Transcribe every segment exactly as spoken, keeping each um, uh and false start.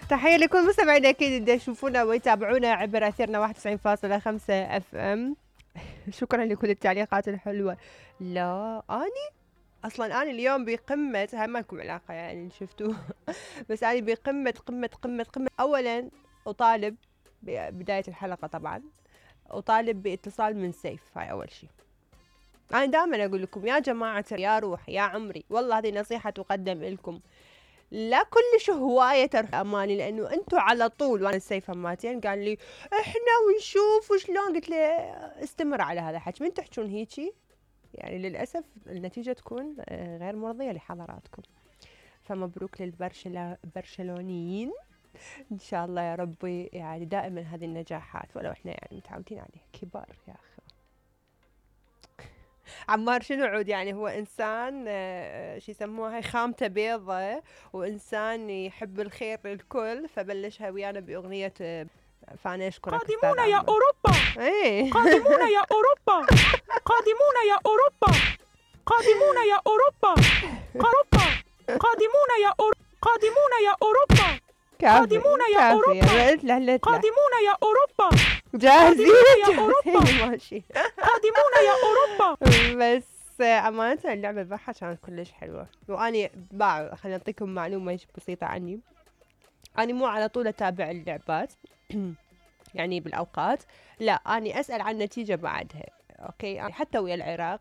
تحية لكل مستمعينا أكيد اللي يشوفونا ويتابعونا عبر أثيرنا واحد وتسعين فاصلة خمسة اف ام. شكرا لكل التعليقات الحلوة. لا أني أصلا أنا اليوم بقمة، هاي ما لكم علاقة يعني شفتوا بس أنا بقمة قمة قمة قمة. أولا أطالب بداية الحلقة طبعا أطالب باتصال من سيف. هاي أول شيء. أنا دائما أقول لكم يا جماعة يا روح يا عمري، والله هذه نصيحة تقدم لكم، لا كلش هواية ترى أماني، لأنه أنتوا على طول. وأنا السيف هماتين قال لي إحنا ونشوف وشلون، قلت له استمر على هذا الحكي، من تحجون هيجي يعني للأسف النتيجة تكون غير مرضية لحضراتكم. فمبروك للبرشلونيين إن شاء الله يا ربي، يعني دائما هذه النجاحات، ولو إحنا يعني متعودين عليه كبار يا أخي. عمار شنو عود يعني، هو إنسان شو يسموها هاي خامته بيضة، وإنسان يحب الخير للكل، فبلشها ويانا بأغنية فأنا أشكرك قادمون يا أوروبا. ايه قادمون يا أوروبا. قادمون يا أوروبا. قادمون يا أوروبا. أوروبا. قادمون يا أوروبا. قادمون يا أوروبا. قادمون يا أوروبا. قادمون يا أوروبا. جاهزين يا أوروبا. ماشي. قادمون يا أوروبا. بس أمانة اللعبة بحة كانت كلش حلوة، وأني باع خليني أعطيكم معلومة بسيطة عني. أنا مو على طول أتابع اللعبات يعني بالأوقات، لا أني أسأل عن النتيجة بعدها. أوكي يعني حتى ويا العراق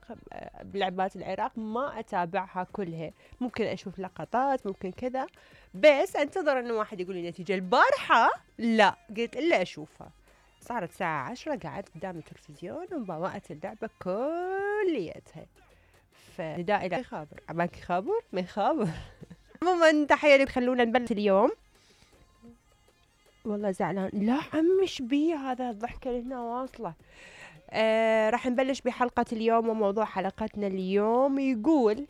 بلعبات العراق ما أتابعها كلها، ممكن أشوف لقطات ممكن كذا، بس أنتظر إنه واحد يقول لي نتيجة. البارحة لا قلت إلا أشوفها، صارت الساعة عشرة قعدت قدام التلفزيون وبوقت اللعبة كليتها. فنداء إلى خابر عماك خابر ما يخابر. عموما تحية لكم، خلونا نبلش اليوم. والله زعلان لا عمش بي هذا الضحكة اللي هنا واصلة. آه راح نبلش بحلقة اليوم، وموضوع حلقتنا اليوم يقول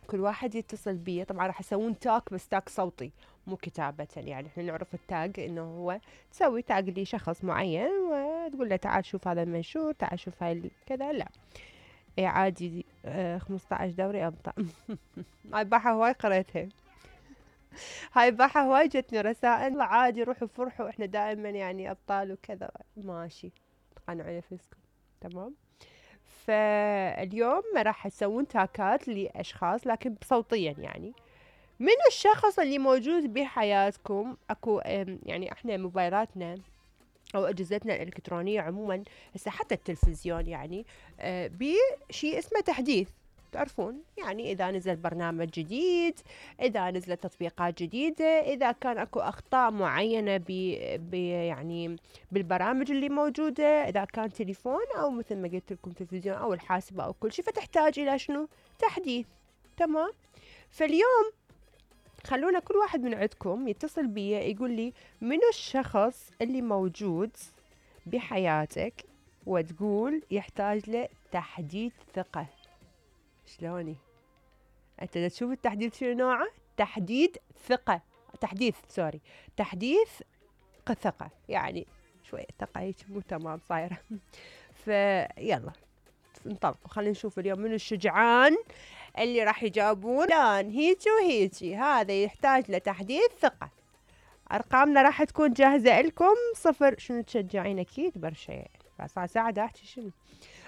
كل واحد يتصل بي، طبعا راح يسوون تاك بس تاك صوتي مو كتابة، يعني احنا نعرف التاج انه هو تسوي تاج لشخص معين وتقول له تعال شوف هذا المنشور، تعال شوف هاي كذا. لا اي عادي. آه خمسة عشر دوري ابطال. هاي باحة هواي قريتها، هاي باحة هواي جتني رسائل عادي روحوا فرحوا احنا دائما يعني ابطال وكذا. ماشي تقنعوا نفسكم تمام. فاليوم راح يسوون تاكات لأشخاص لكن صوتيا، يعني من الشخص اللي موجود بحياتكم. اكو يعني احنا موبايلاتنا او اجهزتنا الالكترونية عموما هسه حتى التلفزيون يعني بشيء اسمه تحديث، تعرفون يعني إذا نزل برنامج جديد، إذا نزلت تطبيقات جديدة، إذا كان أكو أخطاء معينة ب يعني بالبرامج اللي موجودة، إذا كان تليفون أو مثل ما قلت لكم تلفزيون أو الحاسبة أو كل شيء، فتحتاج إلى شنو؟ تحديث. تمام. فاليوم خلونا كل واحد من عندكم يتصل بي يقول لي منو الشخص اللي موجود بحياتك وتقول يحتاج له تحديث ثقة. شلوني انت تشوف التحديث شنو نوعه؟ تحديد ثقة، تحديث سوري تحديث ثقة، يعني شوية ثقة هيك مو تمام صايرة. فيلا انطلقوا خلينا نشوف اليوم من الشجعان اللي راح يجاوبون لان هيجي وهيجي هذا يحتاج لتحديث ثقة. ارقامنا راح تكون جاهزة لكم. صفر شنو تشجعين اكيد برشا يعني صار ساعة دا احكي شنو.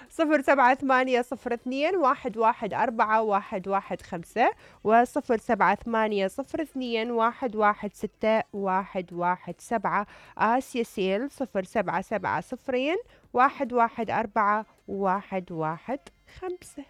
صفر سبعة ثمانية صفر اثنين واحد واحد أربعة واحد واحد خمسة وصفر سبعة ثمانية صفر اثنين واحد واحد ستة واحد واحد سبعة. آسيا سيل صفر سبعة سبعة صفرين واحد واحد أربعة واحد واحد خمسة.